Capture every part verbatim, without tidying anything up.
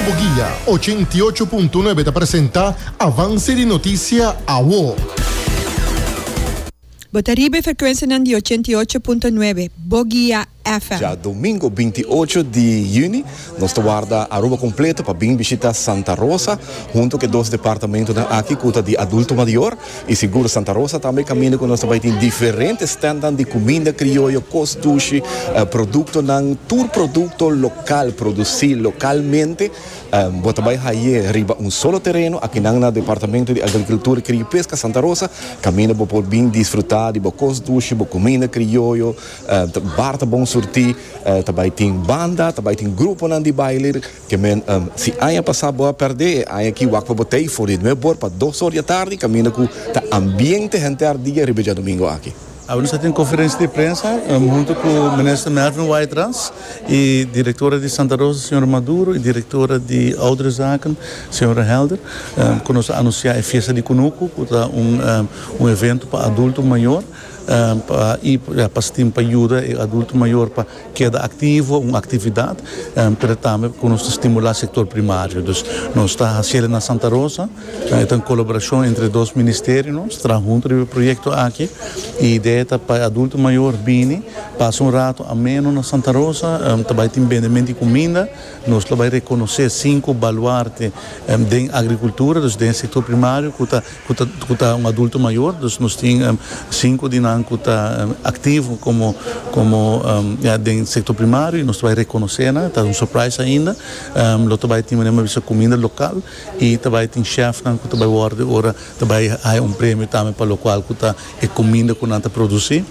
Bo Guia ochenta i ocho punto nuebe ta presenta Avance di Noticia Awo. Bo ta riba e frecuencia di ochenta i ocho punto nuebe, Bo Guia F M. Diadomingo binti ocho di juni, nos ta warda Aruba completo pa bin bishita Santa Rosa, hunto cu dos departamento aki cu di adulto mayor y sigur Santa Rosa tambe, caminda cu nos tambe tin diferente stand di cuminda crioyo, cos dushi, uh, producto nan, tur producto local, produci localmente, um, bo ta bay haya riba un solo tereno, aki na Departamento di Agricultura, Cria y Pesca Santa Rosa, caminda bo por bin disfruta di bo cos dushi, bo cuminda crioyo, uh, bar ta bon surti, uh, tambe tin banda, tambe tin grupo nan di baile, kiermen um, si aña pasa bo a perde, aña aki wak pa bo tey for di nuebe or pa dos or di atardi, caminda cu ta ambiente henter dia riba diadomingo aki. Nos tin conferencia di prensa um, hunto cu minister Mervin Wyatt-Ras y directora di Santa Rosa, señora Maduro, y directora di Ouderenzaken, señora Helder, um, cu nos a anuncia e fiesta di Cunucu, cu ta un, um, un evento pa adulto mayor, um, pa pa pa yuda e adulto mayor pa keda activo, un actividad, um, pero tambe cu nos stimula e sector primario. Dus nos ta haciendo na Santa Rosa, uh, un colaboracion entre dos ministerio, nos ta hunto e proyecto aki, y idea ta pa adulto mayor bini, pasa un rato ameno na Santa Rosa, um, tambe tin bendimento di cuminda, nos ta bay reconoce cinco baluarte um, di agricultura, dus di sector primario, cu ta, cu ta un adulto mayor, dus nos tin um, cinco di nan cu ta um, activo como como um, ja, den sector primario y nos ta bay reconoce, ta un surprise ainda, um, lo tambe tin un cuminda local y tambe tin chef nan cu tambe wordo ora tambe hay un premio tambe pa local cu ta e cuminda cu nan ta produci.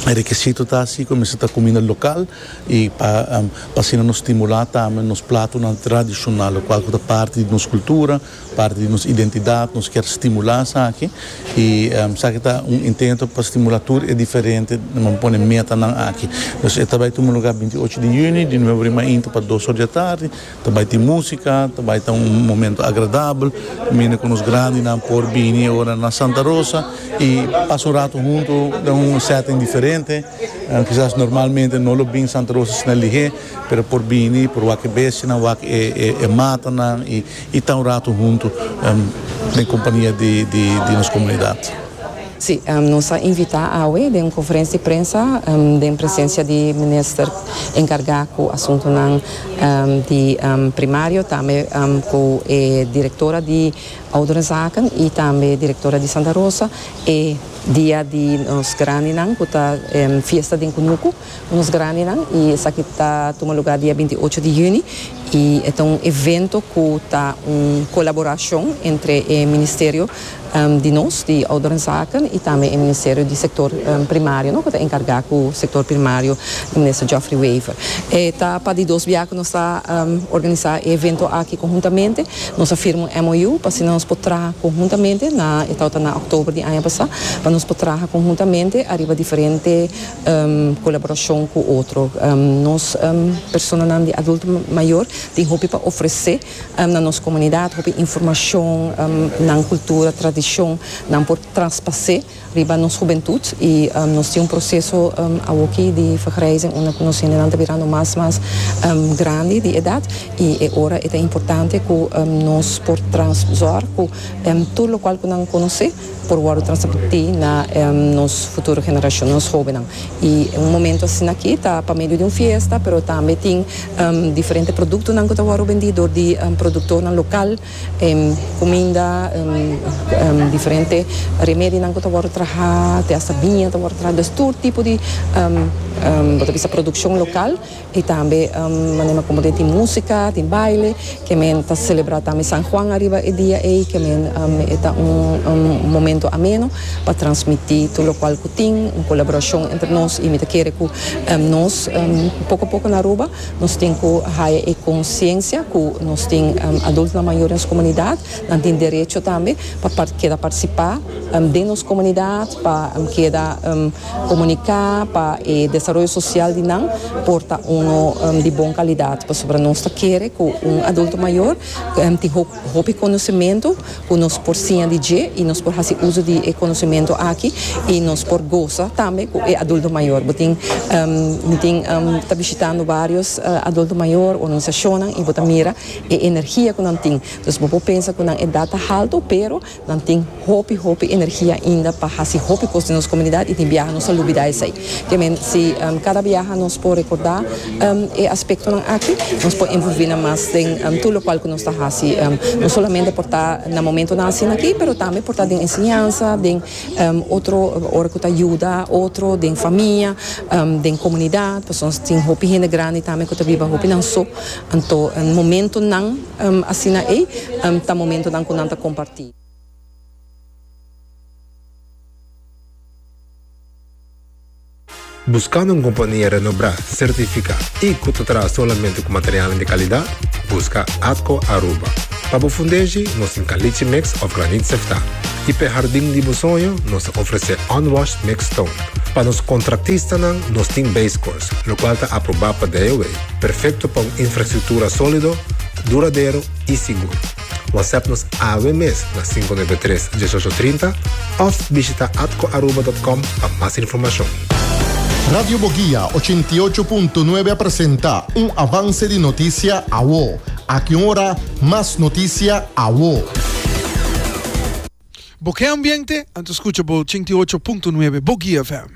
E requisito ta asina, cu ta cuminda local y pa um, pa asina nos stimula tambe nos plato tradicional, cual ta parti di nos cultura, parti di nos identidad, nos kier stimula esaki y um, esaki ta un intento pa stimula tur e diferente, nos pone meta nan aki. Dus e tambe tin luga binti ocho di juni, di nuebe or pa dos or di atardi, tambe tin musica, tambe tin un momento agradabel, tambe cu nos grandinan por bini ora na Santa Rosa y pasa un rato hunto den un setting diferente. Uh, kisas normalmente no lo bin Santa Rosa asina lihe, pero por bini, por wak bestia, wak e, e, e mata y, y ta un rato hunto um, den compania di, di, di nos comunidad. Si, um, nos a invita awe den un conferencia di prensa um, den presencia di minister encarga cu asunto um, di um, primario, tambe um, cu e directora di Ouderenzaken y tambe directora di Santa Rosa e dia di nos grandinan, cu ta um, fiesta di Cunucu, nos grandinan, y esaki ta tuma luga dia binti ocho di juni y ta un evento cu ta un colaboracion entre e ministerio um, di nos, di Ouderenzaken, y tambe e Ministerio di Sector um, Primario, no, cu ta encarga cu e sector primario, minister Geoffrey Wever. E ta pa di dos biaha cu nos ta um, organisa e evento aki conhuntamente, nos a firma un M O U pa nos por traha conhuntamente, na e na october di aña pasa, pa nos por traha conhuntamente, ariba diferente um, colaboracion cu otro. Um, nos um, personanan di adulto mayor tin hopi pa ofrece um, na nos comunidad, hopi informacion, um, na cultura, tradicion, nan por traspasa riba nos hubentud y um, nos tin un proceso um, aki di vergrijzing unda nos ta birando mas mas um, grandi di edad y e ora ta importante cu um, nos por zorg cu um, tur loke cu nan conoce por wordo transmiti na um, nos futuro generacion, nos hobennan. Y un momento asina aki ta pa medio di un fiesta, pero tambe tin um, diferente productonan cu ta wordo bendi di um, productor local, um, cuminda, um, um, diferente remedionan cu ta wordo traha, te hasta biña ta wordo traha, dus tur tipo di um, um, bisa produccion local y tambe um, manera como tin musica, tin baile, kiermen ta celebra tambe San Juan ariba e dia ey, kiermen um, ta un, un momento ameno pa transmiti tur loke cu tin, un colaboracion entre nos y mi ta kere cu um, nos um, poco poco na Aruba, nos tin cu haya e consciencia cu nos tin um, adulto mayor den comunidad, nan tin derecho tambe pa keda participa um, den nos comunidad, pa um, keda um, comunica, pa e desaroyo social di nan por ta un um, di bon calidad, pasobra nos ta kere cu un adulto mayor um, tin hopi conocimento cu nos por siña di dje y nos por haci uso di conocimento. aki y nos por goza tambe cu e adulto mayor. Bo tin um, tin um, ta bishitando varios uh, adulto mayor, organisacion, y bo ta mira e energia cu nan tin. Dus bo por pensa cu nan edad halto, pero nan tin hopi hopi energia ainda pa haci hopi cos den nos comunidad y tin biaha nos ta lubida esey. Kiermen si um, cada biaha nos por recorda um, e aspecto nan aki, nos por envolve mas den um, tur loke cu nos ta haci, um, no solamente por ta na momento nan asina aki, pero tambe por ta den enseñansa, den um, otro ora cu yuda, otro den famia, um, den comunidad, pasobra tin hopi hende grandi tambe cu ta biba hopi nan so, anto un momento nan um, asina ey, um, ta momento nan cu nan ta comparti. Buscando un compania renombra, certifica y cu ta traha solamente cu material di calidad? Busca Atco Aruba. Pa fundeshi, nos tin caliche mix of graniet sefta. Y pa jardin di soño, nos ta ofrece unwashed mixed stone. Pa nos contratistanan, nos tin base course, locual ta aproba pa D O E. Perfecto pa un infrastructura solido, duradero y sigur. WhatsApp nos awe mes na cinco nuebe tres uno ocho tres cero of bishita atcoaruba punto com pa mas informacion. Radio Boguia ochenta y ocho punto nuebe presenta un avance di noticia awo. Aki ora, mas noticia awo. Bo kier ambiente? Anto scucha bo ochenta y ocho punto nuebe Boguia F M.